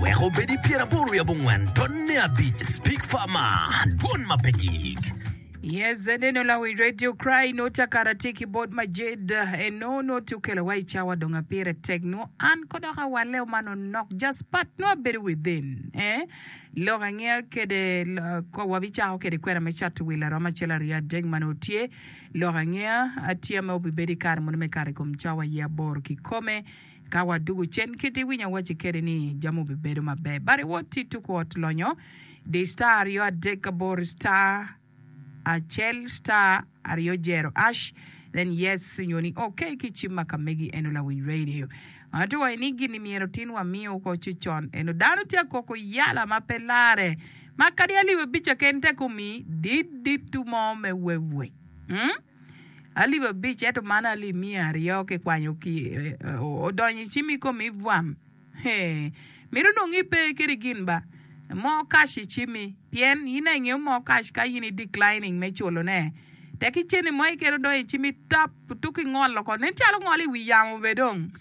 Wek obed i 84 tonne abic Speak Farmer, Dwon ma pe gik. Yes, eneno lawiny radio cry no takara tye ki bot Majid eno no tye okelo wa i cawa dong apire tek no an ko dok awale man onok just part no abedo within eh lok angeya kede ko wabicako kede kwena me cato wil aromo acel aryo adek ma nongo tye lok angeya atye ma obibedo i kare mono me kato i kom cawa ye aboro kikome Ka wadugo cen kit iwinyo awacci kede ni jami obibedo maber. But iwot ti tuku ot lonyo di star aryo adek aboro star acel star aryo jero ash then yes nyo ni ok ki cim ma ka megi eno lawiny radio. Ento wa ni gini myero tin wamiyo oko ci con eno dano tye akoko yala ma pe lare ma kadi alip abica ken tek omi dit dit mo me wewe. Hmm? Alip abic, ento man alip miya aryo kikwanyo ki odonyo i cim i komi bwam. Hee, mito nongo ipe kede gin ba mo cash i cimmi, pien in aye ingeyo mo cash ka in i declining me culone. Tek ki cente mo keken odonyo i cimmi tap tuk ingolo oko, nen calo ngolo i wi yamo bene dong.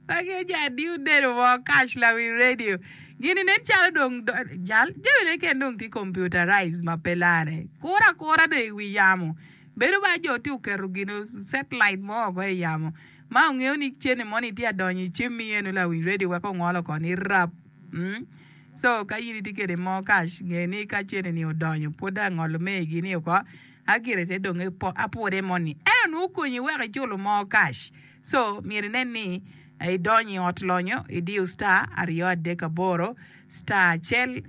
Magi aye jo adiyo dedo mo cash lawi radio. Gini nen calo dong jal jamine keken dong tye computerized ma pe lare. Kuro akura dong i wi yamo. Bedo ba jo tye oketo gino satellite mo oko i yamo ma ongeyo ni cene moni tye adonyo i cimmi eno lawiny radio wek ongol oko ni rap. Mm. So ka in itye kede mo cash nge ni ka cene ni odonyo pwod dong angolo megi ni oko agire te dong apude moni. Ento nongo okonyi wek iculo mo cash. So myero inen ni idonyo i ot lonyo, idiyo star aryo adek aboro star acel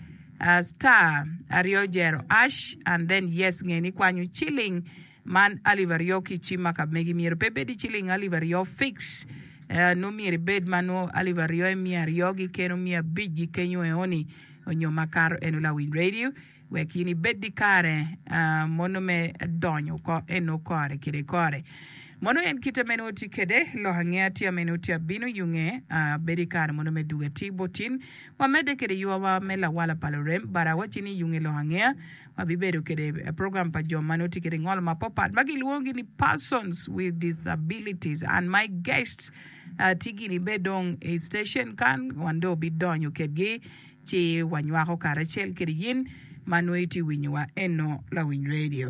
star aryo jero ash and then yes nge ni kwanyo ciling man alip aryo ki cim ma ka megi myero pe bed ciling alip aryo fix nongo myero ibed ma nongo alip aryo miya aryo gi keno miya abic gi kenyo eoni onyo makato eno lawiny radio. Wek in ibed ki kare mono me donyo oko eno kore kede kore. Mono en kite meno tye kede, lok angeya tye ameno tye abino yunge, bedo i kare mono me dugo atir bot in. Wamedde kede ywawa me lawala pa lurem, but awacci ni yunge lok angeya, wabibedo kede program pa jo ma nongo tye kede ngolo mapapat ma gilwongogi ni persons with disabilities and my guests tye gini be dong i station kan wan dong obidonyo kedgi. Ci wanywako karacel kede yin ma nongo itye winyowa eno lawiny radio.